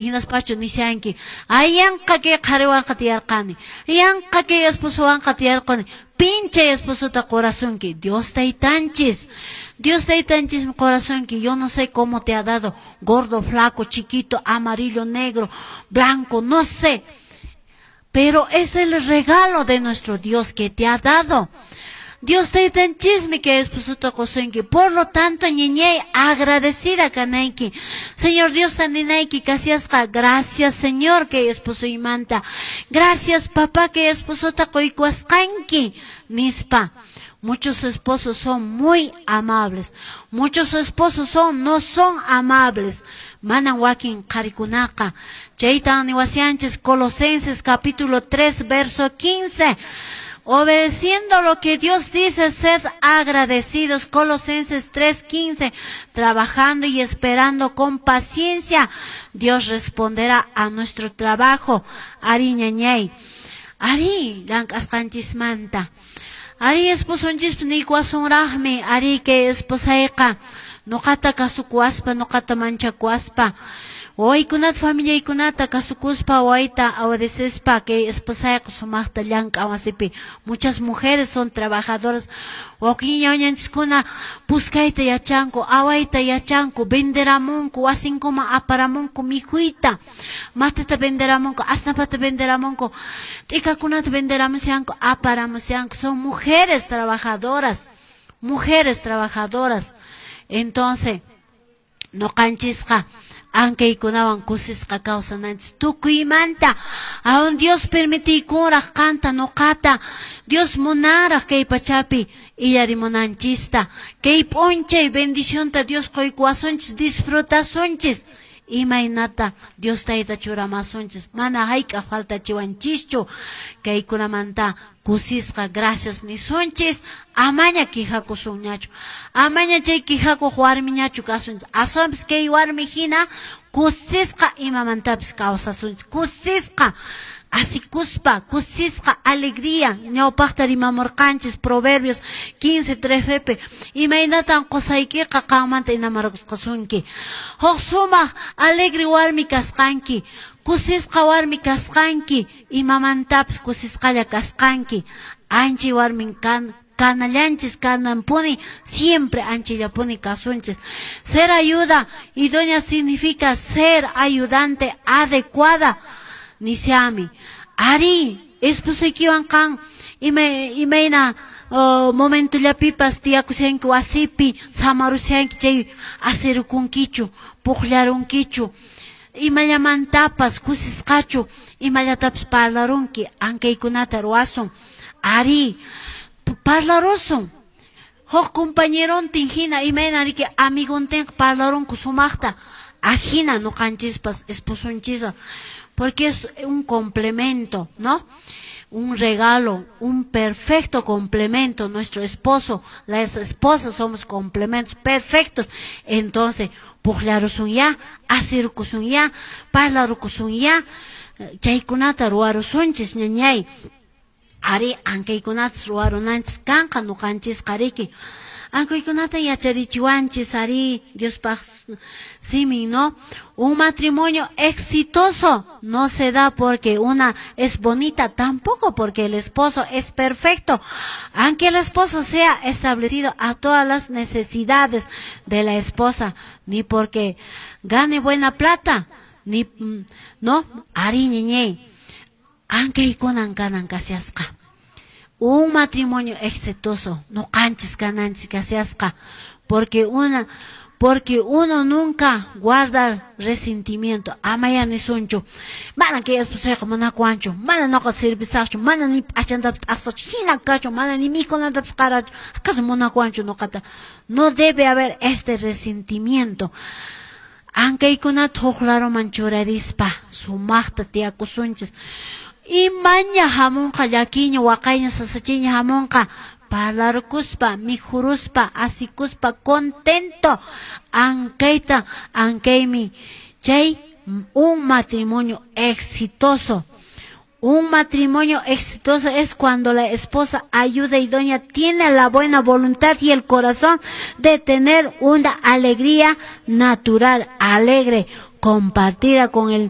Hinaspachu nishanki, ay yanqa kay qhariwanqa tiyarqani, yanqa kay esposowanqa tiyarqani, pin chay esposota qorasunki? Dios Taytanchis. Dios Taytanchismi qorasunki. Yo no sé cómo te ha dado, gordo, flaco, chiquito, amarillo, negro, blanco, no sé. Pero es el regalo de nuestro Dios que te ha dado. Dios Taytanchismi kay esposota qosunki. Por lo tanto, ñiñay, agradecida kanayki. Señor Diosta ninayki kasiasqa, gracias, Señor, kay esposoymanta. Gracias, papá, kay esposota qoykuwasqanki, nispa. Muchos esposos son muy amables. Muchos esposos no son amables. Manan wakin qharikunaqa. Chaytan niwashanchis Colosenses capítulo 3, verso 15. Obedeciendo lo que Dios dice, sed agradecidos. Colosenses 3:15. Trabajando y esperando con paciencia, Dios responderá a nuestro trabajo. Ari ñañay. Ari, llank'asqanchismanta. Ari esposonchispi niykuwasunraqmi, ari kay esposayqa nuqata kasukuwaspa, nuqata manchakuwaspa, wawaykunata, familiaykunata kasukuspa, wawayta obedecespa, kay esposayqa sumaqta llank'an wasipi. Muchas mujeres son trabajadoras. Wakin ñañanchiskuna puskayta yachanku, awayta yachanku, venderamunku, wasinkuman aparamunku mikhuyta, matata venderamunku, asnapata venderamunku, t'ikakunata venderamushanku, aparamushanku. Son mujeres trabajadoras, mujeres trabajadoras. Entonces, nuqanchisqa ankaykunawan kusisqa kawsananchis tukuymanta. Aún Dios permitiykunraq qanta nuqata, Dios munaraq kay pachapi illarimunanchista. Kay p'unchay bendicionta Dios qoykuwasunchis, disfrutasunchis. Imaynata Dios Tayta churamasunchis, mana hayk'aq faltachiwanchischu. Kaykunamanta kusisqa gracias nisunchis, amaña quejakusunñachu, amaña chay quejakuq warmiñachu kasunchis, aswanpis kay warmi hina kusisqa imamantapis kawsasunchis, kusisqa asikuspa, kusisqa alegría. Ñawpaqta rimamurqanchis Proverbios 15:3 imaynatan qusaykiqa qanmanta enamorakusqasunki. Huk sumaq alegre warmi kasqanki, kusisqa warmi kasqanki, imamantapis kusisqalla kasqanki. Anchay warmin kan kanallanchis kananpuni, siempre anchallapuni kasunchis. Ser ayuda idónea significa ser ayudante adecuada. Nisiami. Ari, esposuykiwan qan imayna momentollapipas tiyakushanki wasipi, samarushanki chay asirukunkichu, puqllarunkichu, imallamantapas kusisqachu, imallatapis parlarunki, ankaykunata ruwasun. Ari, parlarusun. Huk compañerontin hina imayna riki amigontin parlarunku sumaqta, ajina nuqanchispas esposonchiswan, porque es un complemento, ¿no? Un regalo, un perfecto complemento. Nuestro esposo, las esposas somos complementos perfectos. Entonces, puqllarusunya, asirkusunya, parlarukusunya, chaykunata ruwarusunchis, ñañay. Ari, ankaykunatas ruwarunanchis kanqa nuqanchisqa riki. Ankaykunata yacharichiwanchis, ari, Diospaq simin, ¿no? Un matrimonio exitoso no se da porque una es bonita, tampoco porque el esposo es perfecto. Aunque el esposo sea establecido a todas las necesidades de la esposa, ni porque gane buena plata, ni, ¿no? Ari, ñeñey. Ankaykunan kanan kasiasqa. Un matrimonio exitoso, no canchis kananchis kasiasqa, porque uno nunca guarda resentimiento. Amaya nisunchu, mana kay esposayqa munakuwanchu, mana nuqa servisaqchu, mana ni p'achantapis t'aqsachu, hina kachu, mana ni mikhunantapis qarachu, acaso munakuwanchu nuqata. No debe haber este resentimiento. Ankaykunata huk laruman churarispa sumaqta tiyakusunchis. Imaña hamunqa llakiña, waqayña, sasachiña hamunqa, parlarkuspa, mikhuruspa, asikuspa, contento. Ankayta, ankaymi chay un matrimonio exitoso. Un matrimonio exitoso es cuando la esposa ayuda idónea tiene la buena voluntad y el corazón de tener una alegría natural, alegre, compartida con el